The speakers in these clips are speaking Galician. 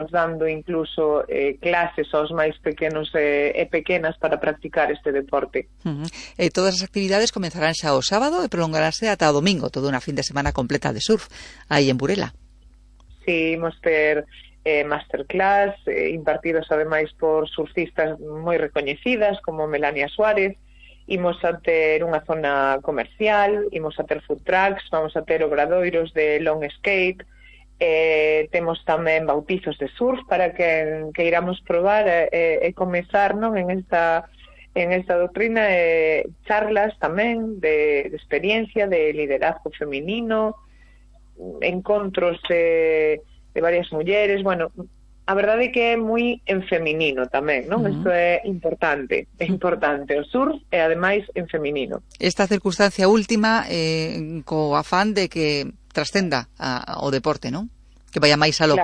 dando incluso clases aos máis pequenos e pequenas para practicar este deporte. Todas as actividades comenzarán xa o sábado e prolongaránse ata o domingo, toda unha fin de semana completa de surf aí en Burela. Sí, imos ter masterclass impartidos ademais por surfistas moi recoñecidas como Melania Suárez. Imos a ter unha zona comercial, imos a ter food trucks, vamos a ter obradoiros de long skate. Temos tamén bautizos de surf para que iramos probar e comezar non en esta doutrina, charlas tamén de experiencia, de liderazgo feminino, encontros de varias mulleres. Bueno, a verdade é que é moi en feminino tamén, non? Isto é importante, o surf e ademais en feminino. Esta circunstancia última co afán de que trascenda o deporte, non? Que vaya máis aló.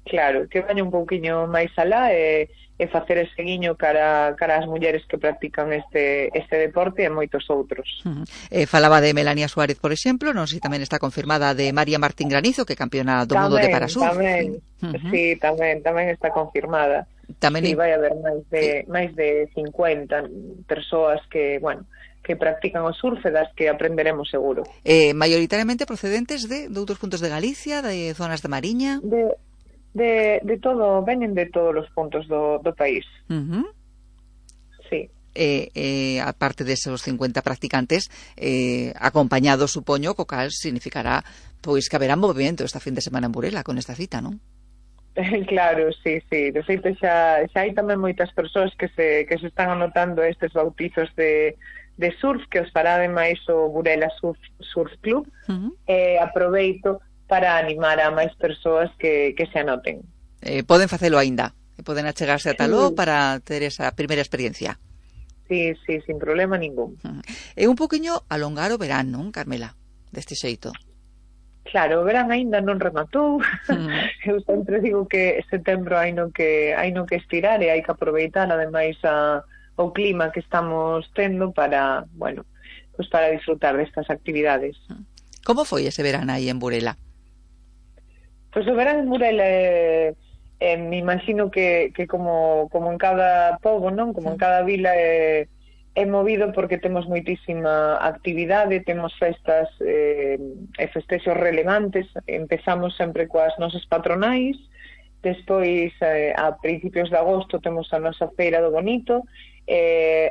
Claro, que vaya un pouquiño máis alá e facer ese guiño cara ás mulleres que practican este deporte e moitos outros. Falaba de Melania Suárez, por exemplo, non sei se tamén está confirmada de María Martín Granizo, que é campeona do mundo de parasurf. Sí, tamén está confirmada. Tamén vai haber máis de 50 persoas que, que practican o surf e das que aprenderemos seguro. Maioritariamente procedentes de outros puntos de Galicia, de zonas de Mariña? De todo, veñen de todos os puntos do país. Sí. Aparte de esos 50 practicantes, acompañados, supoño, co cal significará pois que haberá movimento esta fin de semana en Burela con esta cita, non? Claro, sí. De feito, xa hai tamén moitas persoas que se están anotando estes bautizos de surf que os fará ademais o Burela Surf Club. Aproveito para animar a máis persoas que se anoten. Poden facelo aínda, poden achegarse a taló para ter esa primeira experiencia. Sí, sin problema ningún. É un poquinho alongar o verán, non, Carmela, deste xeito? Claro, o verán aínda non rematou. Eu sempre digo que setembro hai no que estirar e hai que aproveitar ademais o clima que estamos tendo para, para disfrutar destas actividades. Como foi ese verán aí en Burela? Pois o verán en Burela me imagino que como en cada pobo, non? Como en cada vila é movido porque temos moitísima actividade, temos festas e festexos relevantes. Empezamos sempre coas nosas patronais, despois a principios de agosto temos a nosa Feira do Bonito,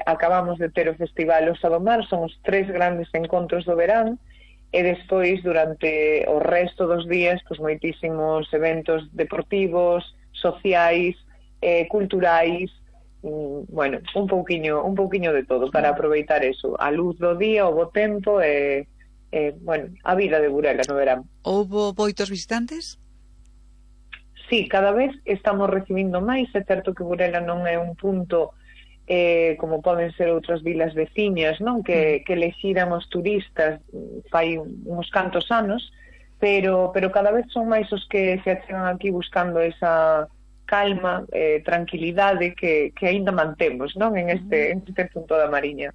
acabamos de ter o Festival Osa do Mar, son os 3 grandes encontros do verán, e despois durante o resto dos días pois moitísimos eventos deportivos, sociais, culturais, un pouquiño de todo para aproveitar eso, a luz do día, o bo tempo e a vida de Burela no verán. Houbo moitos visitantes? Sí, cada vez estamos recibindo máis. É certo que Burela non é un punto como poden ser outras vilas veciñas, non? Que lexiran os turistas fai uns cantos anos, pero cada vez son máis os que se achegan aquí buscando esa calma, tranquilidade que aínda mantemos, non? En este punto da Mariña.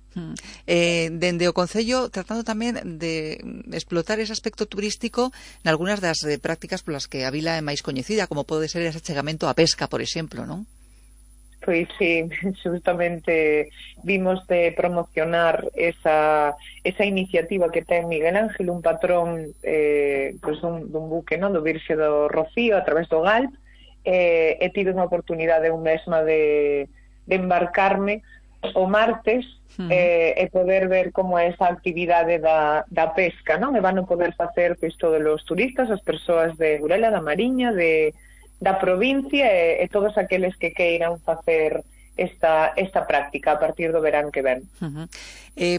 Dende o Concello, tratando tamén de explotar ese aspecto turístico nalgúnas das prácticas polas que a vila é máis coñecida, como pode ser ese achegamento á pesca, por exemplo, non? Pois sí, justamente vimos de promocionar esa iniciativa que ten Miguel Ángel, un patrón dun buque, non? Do Virxe do Rocío a través do Galp. He tido unha oportunidade un mesma de embarcarme o martes e poder ver como é esa actividade da pesca, non? E van a poder facer pois todos os turistas, as persoas de Burela, da Mariña, da provincia e todos aqueles que queiran facer esta práctica a partir do verán que ven.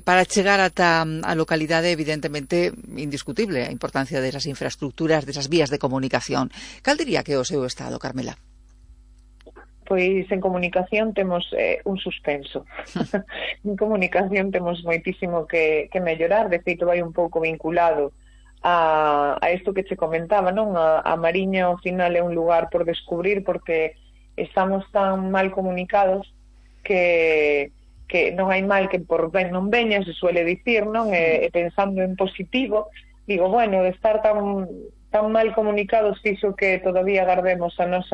Para chegar ata a localidade, evidentemente, indiscutible a importancia desas infraestructuras, desas vías de comunicación. Cal diría que é o seu estado, Carmela? Pois en comunicación temos un suspenso. En comunicación temos moitísimo que mellorar. De feito, vai un pouco vinculado a isto que che comentaba, non? A Mariña, ao final, é un lugar por descubrir porque estamos tan mal comunicados que non hai mal que por ben non veña, se suele dicir, non? E pensando en positivo, digo, de estar tan mal comunicados, fixo que todavía guardemos a nosa